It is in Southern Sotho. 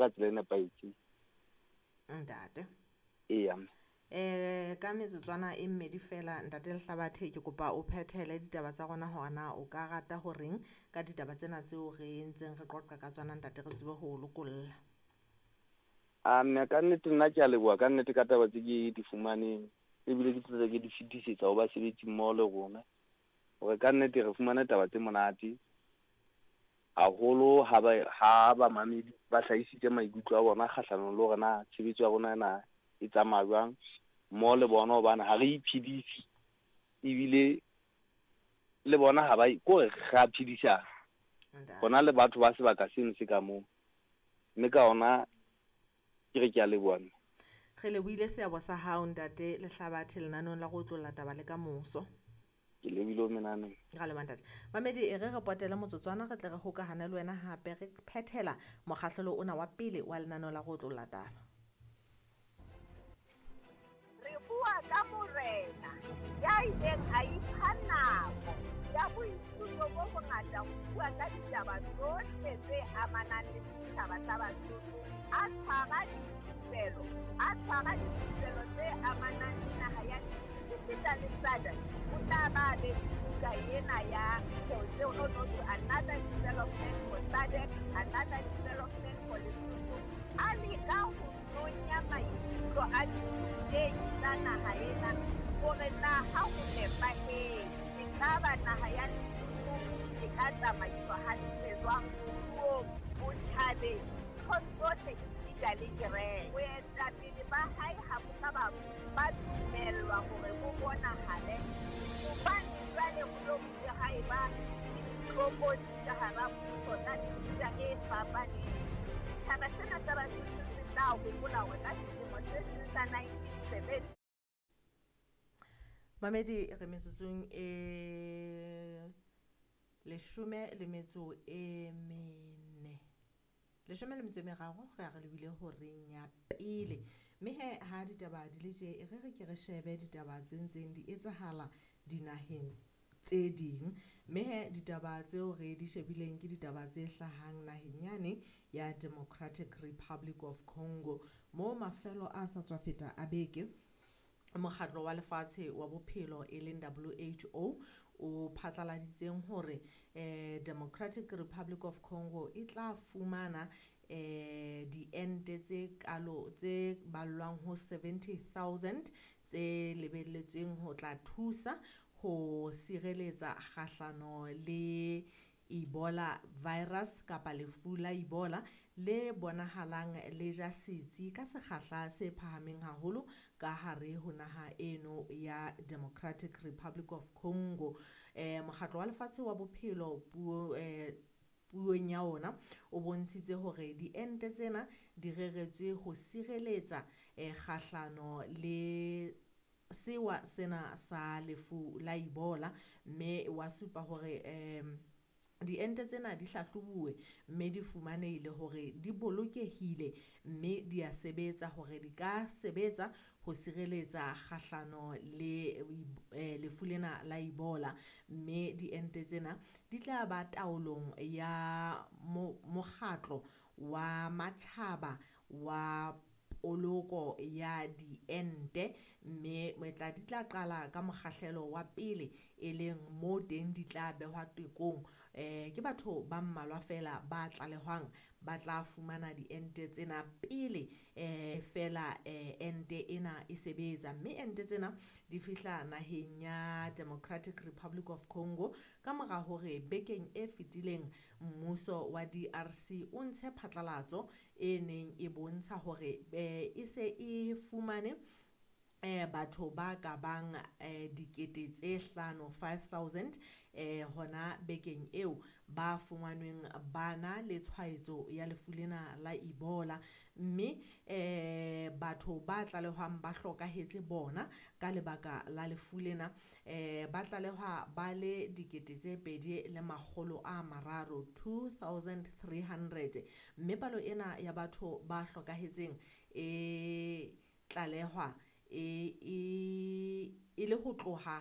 ka tsela e nepahetseng. Ntate. Eya. Ka metsotswana e mmedi fela, Ntate Lehlabathe, ke kopa o phethele ditaba tsa rona hore na o ka rata horeng ka ditaba tsena tseo re ntseng re qoqa ka tsona, ntate, re tsebe ho o lokolla. A mme ka nnete nna ke a leboha ka nnete ka taba tse ke di fumaneng, ebile ke tlo ke di fetisetsa ho basebetsi mmoho le rona, hore ka nnete re fumane taba tse monate haholo ha bamamedi ba hlahisitse maikutlo a bona kgahlanong le hore na tshebetso ya rona na e tsamaya jwang mmoho le bona, hobane ha re iphedise ebile le bona ha ba kore re a phedisana rona le batho ba sebaka seno se ka moo, mme ka ona ke re ke a leboha. Re lebohile seabo sa hao, Ntate Lehlabathe, lenaneong la go otlolla taba le ka moso. Ke lebohile ho menane. Ra leboha, ntate. Mamedi, e re re potele motsotswana, re tle re hokahane le wena hape re phethela mokgahlelo ona wa pele wa lenaneo la go otlolla taba. Re bua ka morena ya ileng a ipha nako ya boithuto bo bongata ho bua ka ditaba tsohle tse amanang le setjhaba sa Basotho, a tshwara dithupelo, a tshwara dithupelo tse amanang le naha ya esita le SADC. O tla ba be le buka ena ya no no to another development for SADC, another development for Lesotho. A leka ho nonya maikutlo a ditei tsa naha ena hore na ha ho nepahetse, ekaba naha ya Lesotho e ka tsamaiswa hantle jwang moruong, botjhabeng, nthong tsohle esita le kereke. Boetapele ba hae ha bo ka ba dumellwa hore bo bonahale, hobane jwale ho lo bile ha eba le ditlokotsi ka hara mmuso tsa mefuta e fapaneng. Setjhaba sena sa Basotho se tla hopola hore ka selemo se seng sa 1970. Mamedi, re metsotsong e 14, 13 re a re lebile horeng ya pele. Mme he ha ditaba di le tje, e re re ke re shebe ditaba tse ntseng di etsahala dinaheng tse ding. Mme he ditaba tseo re di shebileng ke ditaba tse hlahang naheng yane ya Democratic Republic of Congo, mo mafelo a sa tswa feta a beke mokgatlo wa lefatshe wa bophelo e leng WHO o phatlaladitseng hore Democratic Republic of Congo e tla fumana diente tse kalo tse ballwang ho 70,000 tse lebelletsweng ho tla thusa ho sireletsa kgahlano le Ebola virus kapa lefu la Ebola le bonahalang le ja setsi ka sekgahla se phahameng haholo ka hare ho naha eno ya Democratic Republic of Congo. Mokgatlo wa lefatshe wa bophelo puong ya ona o bontshitse hore diente tsena di reretswe ho sireletsa kgahlano le sewa sena sa lefu la Ebola, mme wa supa hore diente tsena di hlahlobuwe mme di fumanehile hore di bolokehile mme di a sebetsa hore di ka sebetsa ho sireletsa kgahlano le lefu lena la Ebola. Mme diente tsena di tla ba taolong ya mokgatlo wa matjhaba wa poloko ya diente, mme di tla qala ka mokgahlelo wa pele e leng mo teng di tla behwa tekong. Ke batho ba mmalwa fela ba tlalehwang ba tla fumana diente tsena pele fela ente ena e sebetsa. Mme ente tsena di fihla naheng ya Democratic Republic of Congo ka mora hore bekeng e fetileng mmuso wa DRC o ntshe phatlalatso e neng e bontsha hore e se e fumane batho ba ka bang 5,000 5,000 hona bekeng eo ba fumanweng bana le tshwaetso ya lefu lena la Ebola. Mme batho ba tlalehwang ba hlokahetse bona ka lebaka la lefu lena ba tlalehwa ba le 2,300 2,300, mme palo ena ya batho ba hlokahetseng e tlalehwa e le ho tloha ha